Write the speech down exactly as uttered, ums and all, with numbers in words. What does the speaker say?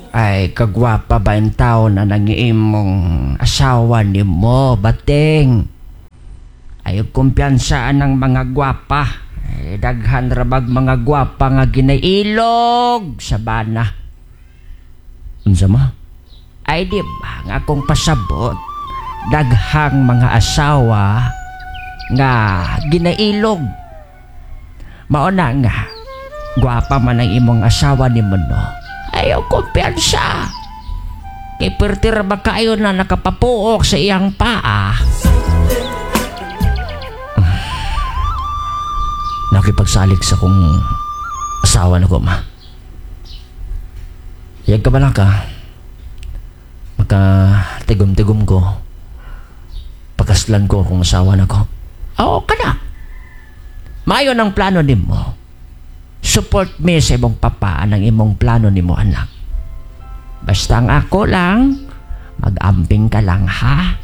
Ay, kagwapa ba yung tao na nang imong asawa ni mo, bating? Ay, kumpiyansaan ng mga gwapa. Ay, daghan rabag mga gwapa nga ginailog sa bana. Unsa, ma? Ay, di ba nga akong pasabot, daghang mga asawa nga ginailog. Mao na nga, gwapa man ang imong asawa ni mo, no? Ayaw kumpiyansa. Kay perti ra ba kayo na nakapapuok sa iyang paa? Nakipagsalig sa kong asawa na ko, ma. Yag ka ba lang ka? Maka tigom-tigom ko. Pagkaslan ko kung asawa na ko. Oo ka na. Mayo ng plano nimo. Support me sa imong papa ang imong plano nimo, anak. Basta ang ako lang, mag-amping ka lang, ha?